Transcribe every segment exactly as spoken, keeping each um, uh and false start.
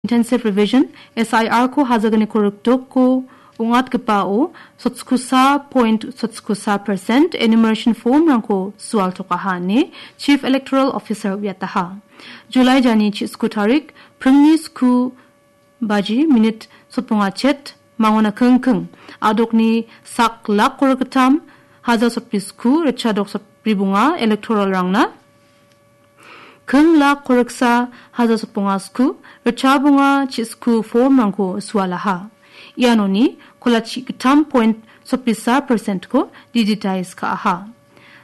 Intensive Revision, S I R-ko hazagniko rikdoko ong·atgipao sotskosa point sotskosa percent enumeration form-rangko sualtokaha ine Chief Electoral Officer uiataha. July jani chi sku tarik, pringni sku baji minit sotbonga chet, mangona kingking, adokni sak lak korikgittam, haja sotbri sku, ritchadok sotbri bonga electoral-rangna, king lak koriksa, haja sotbonga sku, ritcha bonga chi sku form-rangko sualaha. Ianoni kolachi gittam point sotbrisa percent-ko digitize ka·aha.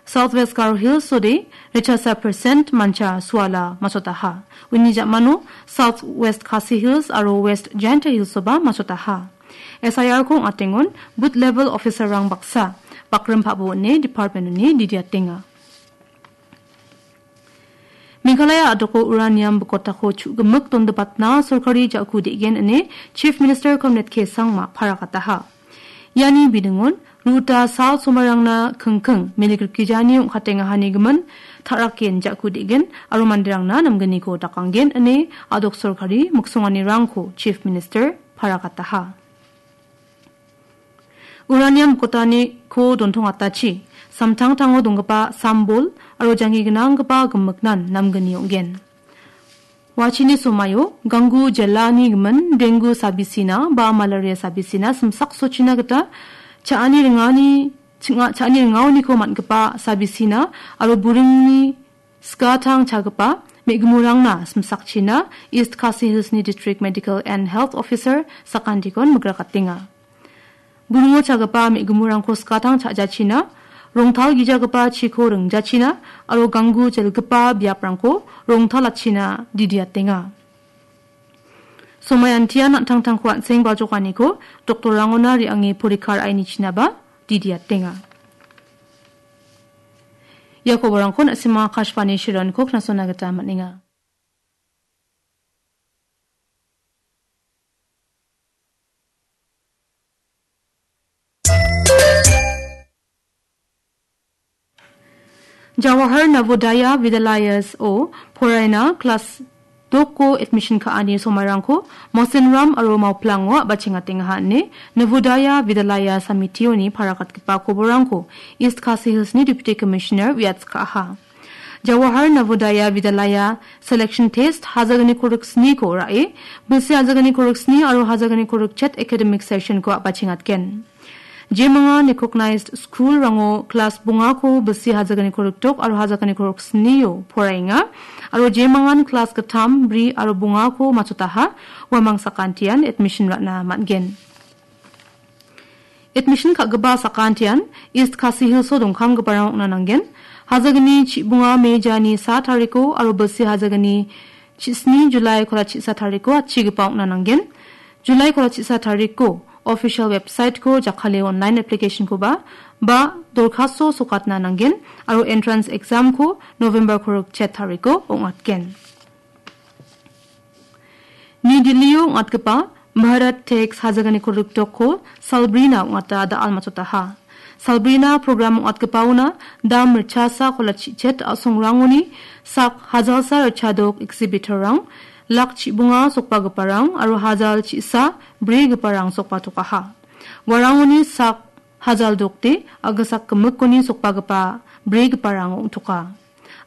South West Garo Hills-ode ritchasa percent mancha suala masotaha. Uni ja·mano South West Khasi Hills aro West Jaintia Hills-oba masotaha. S I R-ko ong·atengon booth level officer-rang baksa bakrim pabo ine department-oni didiatenga. Meghalaya a·doko uranium bikotako chu·gimik dondipatna sorkari ja·ku de·gen ine Chief Minister Conrad K Sangma parakataha. Iani bidingon ruta sal somarangna kingking milik rikgijani ong·katengahani gimin ta·rakgen ja·ku de·gen aro manderangna namgniko dakanggen ine a·dok sorkari miksonganirangko Chief Minister parakataha. Uranium bikotaniko dontongatachi, samtangtango donggipa sambol aro janggi gnanggipa gimiknan namgni ong·gen. Wachini somaio Gangu jilani gimin dengu sabisina ba malaria sabisina simsaksochina gita cha·ani ringani, chinga-, cha·ani ringaoniko man·gipa sabisina aro buringni skatang chagipa me·gimurangna simsakchina East Khasi Hillsni District Medical and Health Officer sakantikon migrakatenga. Buringo chagipa me·gimurangko skatang cha·jachina, rongtal gijagipa chiko ringjachina aro Gangu jelgipa biaprangko rongtalachina didiatenga. Somayantian an·tangtangko an·seng bajokaniko doktorrangona re·ange porikar ainichinaba didiatenga. Ia koborangko na·sima Akashvani Shironko knasona gita man·enga. Jawahar Navodaya Vidyalayas-o poraina klas doko admission ka·ani somairangko Mosinram aro Mauplango a·bachengatengaha ine Navodaya Vidyalaya Samitioni parakatgipa koborangko East Khasi Hillsni Deputy Commissioner uiatskaha. Jawahar Navodaya Vidyalaya Selection Test hazagniko riksniko ra·e, bilsi hazagniko riksni aro hazagniko rikchet academic session-ko a·bachengatgen. Jemangan recognized school-rango klas bongako bilsi hazagniko rikdok aro hazagniko riksnio poraenga, aro jemangan klas gittam, bri aro bongako machotaha, uamang sakantian admission ra·na man·gen. Admission ka·gipa sakantian East Khasi Hills-o dongkamgiparang ong·na nanggen. Hajagni chibonga Mejani sa tariko aro bilsi hajagni chisni Julai kolachisa tariko atchigipa ong·na nanggen. Julai kolachisa tariko official website-ko jakkale online application-koba ba dorkhasto sokatna nanggen aro entrance exam-ko November korikchet tariko ong·atgen. New Delhi-o ong·atgipa Bharat Tex hajaganiko rikdokko salbrina ong·ata da·al matchotaha. Salbrina program ong·atgipaona dam ritchasa kolachichet a·songrangoni sak hajalsa ritchadok exhibitor-rang, lak chibonga sokbagiparang aro hajal chisa brigiparang sokbatokaha. Uarangoni sak hajal dokde a·gisak gimikoni sokbagipa brigiparang ong·toka.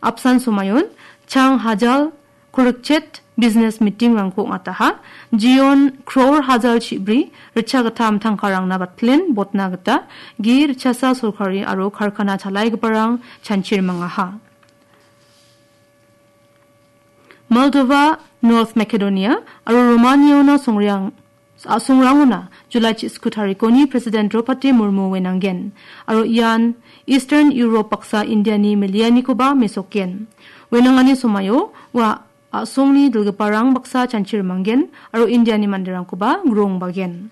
Apsan somayon chang hajal korikchet business meeting-rangko ong·ataha. Jion crore hajal chibri ritchagittam tangkarangna batplen botna gita ge ritchasa sorkari aro karkana chalaigiparang chanchir mangaha. Moldova, North Macedonia aro Romaniaona songreang a·songrangona Julai chisku tarikoni President Draupadi Murmu wenanggen, aro ian Eastern Europe baksa Indiani melianikoba mesokgen. Wenangani somaio ua a·songni dilgiparang baksa chanchi rimanggen aro Indiani manderangkoba grongbagen.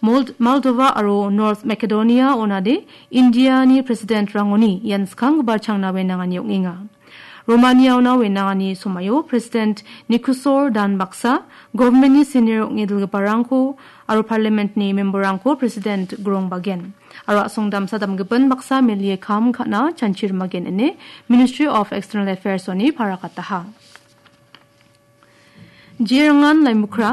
Mold-, Moldova aro North Macedonia onade Indiani President-rangoni ian skanggipa changna wenangani ong·enga. Romaniaona wenangani somaio President Nikusor dan baksa, government-ni senior ong·e dilgiparangko aro Parliament-ni member-rangko President grongbagen. Aro a·song damsa damgimin baksa melie kam ka·na chanchi rimagen ine Ministry of External Affairs-oni parakataha. Jerangan Laimukra,